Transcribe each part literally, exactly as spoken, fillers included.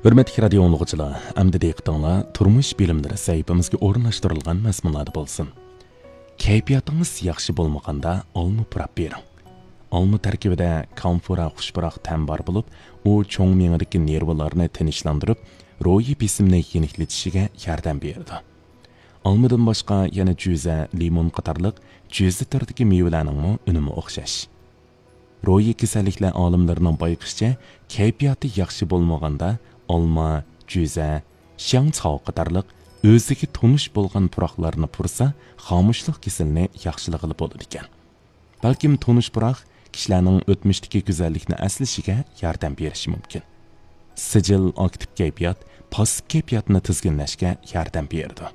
ھۆرمەتلىك رادىيو ئاڭلىغۇچىلار، ئەمدى دىققىتىڭلار تۇرمۇش بىلىملىرى سەھىپىمىزگە ئورۇنلاشتۇرۇلغان مەزمۇنلاردا بولسۇن. كەيپىياتىڭىز ياخشى بولمىغاندا ئالما پۇراپ بېرىڭ. ئالما تەركىبىدە كامفورا خۇش پۇراق تەم بار بولۇپ، ئۇ چوڭ مېڭىدىكى نېرۋىلارنى تىنچلاندۇرۇپ، روھىي بېسىمنى يېنىكلىتىشىگە ياردەم بېرىدۇ. ئالمىدىن باشقا يەنە جۈزە، لىمون قاتارلىق جۈزە تۈرىدىكى مېۋىلەرنىڭمۇ ئۈنۈمى ئوخشاش. روھىي كېسەللىكلەر ئالىملىرىنىڭ بايقىشىچە، كەيپىياتى ياخشى بولمىغاندا ئالما، جۈزە، شياڭچاۋ قاتارلىق ئۆزىگە تونۇش بولغان پۇراقلارنى پۇرسا، خامۇشلۇق كېسىلىنى ياخشىلىغىلى بولىدىكەن. بەلكىم تونۇش پۇراق كىشىلەرنىڭ ئۆتمۈشتىكى گۈزەللىكنى ئەسلىشىگە ياردەم بېرىشى مۇمكىن. سىجىل ئاكتىپ كەيپىيات پاسسىپ كەيپىياتنى تىزگىنلەشكە ياردەم بېرىدۇ.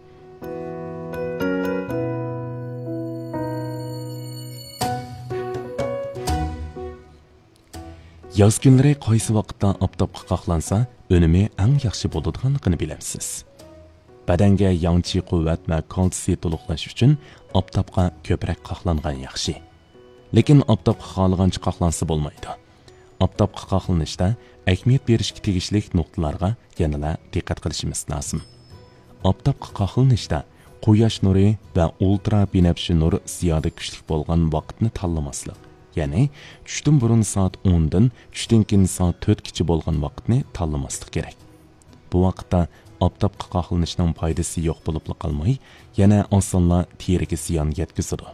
ياز كۈنلىرى قايسى ۋاقىتتا ئاپتاپقا قاقلانسا، ئۈنۈمى ئەڭ ياخشى بولىدىغانلىقىنى بىلەمسىز؟ بەدەنگە ياڭچى قۇۋۋەت ۋە كالتسىي تولۇقلاش ئۈچۈن ئاپتاپقا كۆپرەك قاقلانغان ياخشى. لېكىن ئاپتاپقا خالىغانچە قاقلانسا بولمايدۇ. ئاپتاپقا قاقلىنىشتا ئەھمىيەت بېرىشكە تېگىشلىك نۇقتىلارغا يەنىلا دىققەت قىلىشىمىز لازىم. ئاپتاپقا قاقلىنىشتا قۇياش نۇرى ۋە ئۇلترا بىنەپشە نۇر زىيادە كۈچلۈك بولغان ۋاقىتنى تاللىماسلىق، يەنى چۈشتىن بۇرۇن سائەت ئوندىن چۈشتىن كېيىن سائەت تۆتكىچە بولغان ۋاقىتنى تاللىماسلىق كېرەك. بۇ ۋاقىتتا ئاپتاپقا قاقلىنىشنىڭ پايدىسى يوق بولۇپلا قالماي، يەنە ئاسانلا تېرىگە زىيان يەتكۈزىدۇ.